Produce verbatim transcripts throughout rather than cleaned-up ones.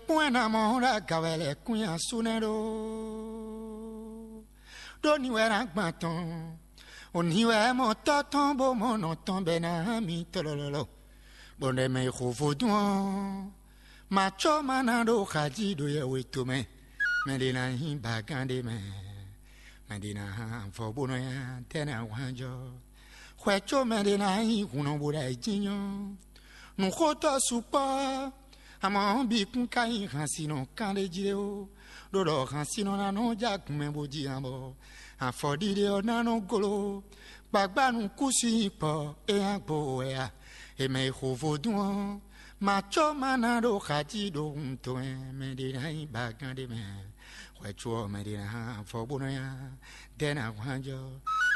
Kún ɛ ná mɔ ɖo aga wɛ lɛ́ kún nyi asú nɛ́ ɖó. Ɖó ni wɛ ná gban tɔn. Òní wɛ mɔ tɔ́ tɔn bó mɔ nɔ tɔn bɛ ná hán mi tlɔlɔlɔ. Bɔ nɛ mɛ e xo vodún ɔ́, ma có ma ná ɖo xají ɖo yɛwe tomɛ. Mɛ ɖé ná nyí bagán ɖé mɛ. Mɛ ɖé ná hán avɔ bó nɔ ya tɛ́ ná wán jɔ. Xwɛ có mɛ ɖé ná nyí hun nɔ bo ɖo ayǐjínjɔ́n. Nǔxótɔ́ sukpɔ́, amɔ̌ ɔ́ bǐ kún ka nyí hansinɔ kán ɖé jí ó, ɖó ɖɔ hansinɔ ná nɔ ja gun mɛ bó jí ǎ bɔ afɔɖiɖe ɔ́ ná nɔ gló. Gbagbá nukúnsin kpɔ é nya gbo wɛ a? È mɛ e xo vodún ɔ́, ma có ma ná ɖo xají ɖo wuntɔn ɛ mɛ ɖé ná nyí bagán ɖé mɛ. Xwɛ có ɔ́ mɛ ɖé ná hán afɔ bó nɔ nya dɛ́ ná hwán jɔ.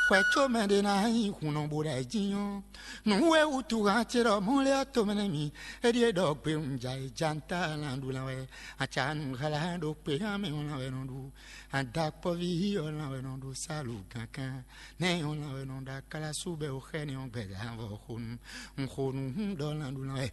Xwɛ có mɛ ɖé ná nyí hun nɔ bo ɖo ayǐjínjɔ́n. Nǔ e wútu han ce ɖɔ mɔ̌ lé ɔ́ tomɛ nɛ́ mi. É ɖíe ɖɔ gbe un ja e ja un ta lan ɖu lan wɛ. Aca nu hlá ɖo kpe hán mɛ ɔ́ lan wɛ nɔ ɖu. Adakpɔ́ví ɔ́ lan wɛ nɔ ɖo sálu gǎnkán. Nɛ́ ɔ́ lan wɛ nɔ ɖo akálású bɛ o xɛ nɛ́ ɔ́ gbɛdá vɔ xonu. Un xo nu hún ɖɔ lan ɖu lan wɛ.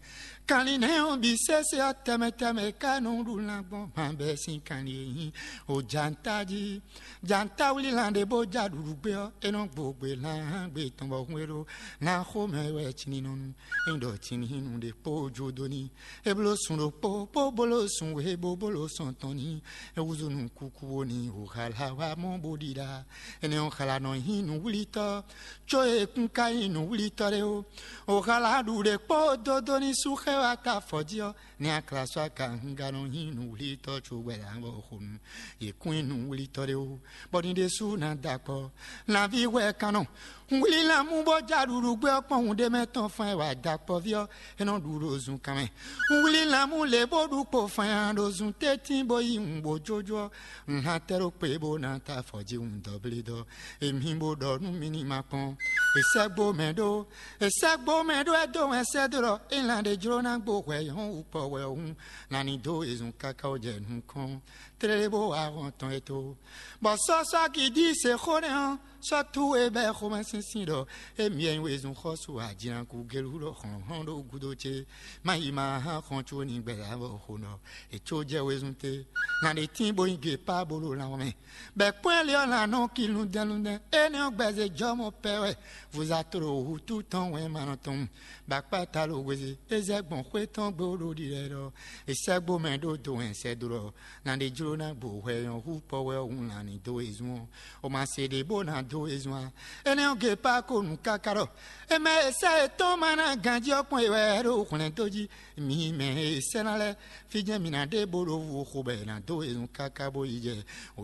Kanlin nɛ́ ɔ́ bǐ sésé ɔ́ tɛmɛ tɛmɛ ka nɔ ɖu lan gbɔn han bɛ sín kanlin e nyí o ja un ta jí. Jantawlí lan ɖé bó ja ɖuɖu gbé ɔ́, é nɔ gbo gbe lan hán gbe tɔn bɔ hun e ɖó lan xomɛ wɛ cininɔnu. É ɖɔ cininunu ɖé kpó jó dó ní. É bló sun ɖokpó bó bló sun wěbó bó ló sɔn tɔn ní. É húzú nú kúkú bó ní wǔ xala wá mɔ bó ɖiɖa. Énɛ́ ɔ́ xala nɔ nyí nǔwlítɔ́, có e kún ka nyí nǔwlítɔ́ ɖé ó. Wǒ xala ɖu ɖé kpó dó dó ní sú xɛ wá ta afɔ jí ɔ́, ní akla sɔ́ aka húnga nɔ nyí nǔwlítɔ́ cóbɔ ɛ ná vɔ xo nu. Yě kún nyí nǔwlítɔ́ ɖé ó, bɔ ní ɖésú ná da akpɔ. Lanví hwɛ kan nɔ. Un wlí lanmú bó ja ɖuɖu gbé ɔ́ kpɔ́n hun ɖé mɛ tɔn fan e wa da akpɔví ɔ́, é nɔ ɖu ɖo zunkan mɛ. Un wlí lanmú lě bó ɖu kpo fan ya ɖo zun tɛ́ntin bó yí wun bó jójó ɔ́, un hán tɛ́ ɖó kpe bó ná ta afɔ jí wun dɔblídɔ́. Èmi bó ɖɔ nú mi ní ma kpɔ́n. È sɛ́ gbó mɛ ɖó, è sɛ́ gbó mɛ ɖó ɛ dó wɛn sɛ́ dó ɖɔ é lan ɖé jló ná gbo hwɛ nyɔ̌ wú kpɔ wɛ ɔ́ hún, lan ní dó e zun káká wó jɛ nukɔn. Tlélé bó wá hɔn tɔn e tó. Bɔ sɔ́sɔ́ gidi se xó nɛ́ ɔ́, sɔ́ tú e bɛ́ xomɛsinsin ɖɔ émí wɛ nyí wezun xɔ́sú ajinakú gelu ɖo hlɔ̌nhlɔ́n ɖo gúdo ce. Má yi ma hán xɔn có ní gbɛ̌ avɔ xo nɔ. È có jɛ wezun te. Lan ɖé tín bó nyí gěpá bó ɖo lan mɛ. Bɛ kpɔ́n ɛ lé ɔ́ lan nɔ ki lundɛ́nlundɛ́n. Énɛ́ ɔ́ gbɛzɛ jɔmɔ pɛ wɛ. Vozatolo hútu tɔn wɛn ma nɔ tɔn. Bakpata lo hwezi, é zɛ gbɔn xwé tɔn gbé ɖo ɖiɖɛ ɖɔ, è sɛ́ gbó mɛ ɖó do hɛn sɛ́ dó ɖɔ, na ɖé jló ná gbo hwɛ nyɔ̌ hú kpɔ wɛ ɔ́ hun lan ní dó e zun ɔ́. O ma se ɖě bó ná dó e zun a? Énɛ́ ɔ́, Gepá ko nǔ káká ɖɔ, è mɛ e sɛ́ yětɔn ma ná ganjí ɔ́ kpɔ́n è wɛ ɖo hwlɛ̌n dó jí. Mi mɛ e sɛ́ ná lɛ́ɛ, fí jɛ́n mi ná ɖe bó ɖo vo xo bɔ è nǎ dó e zun káká bó yi jɛ o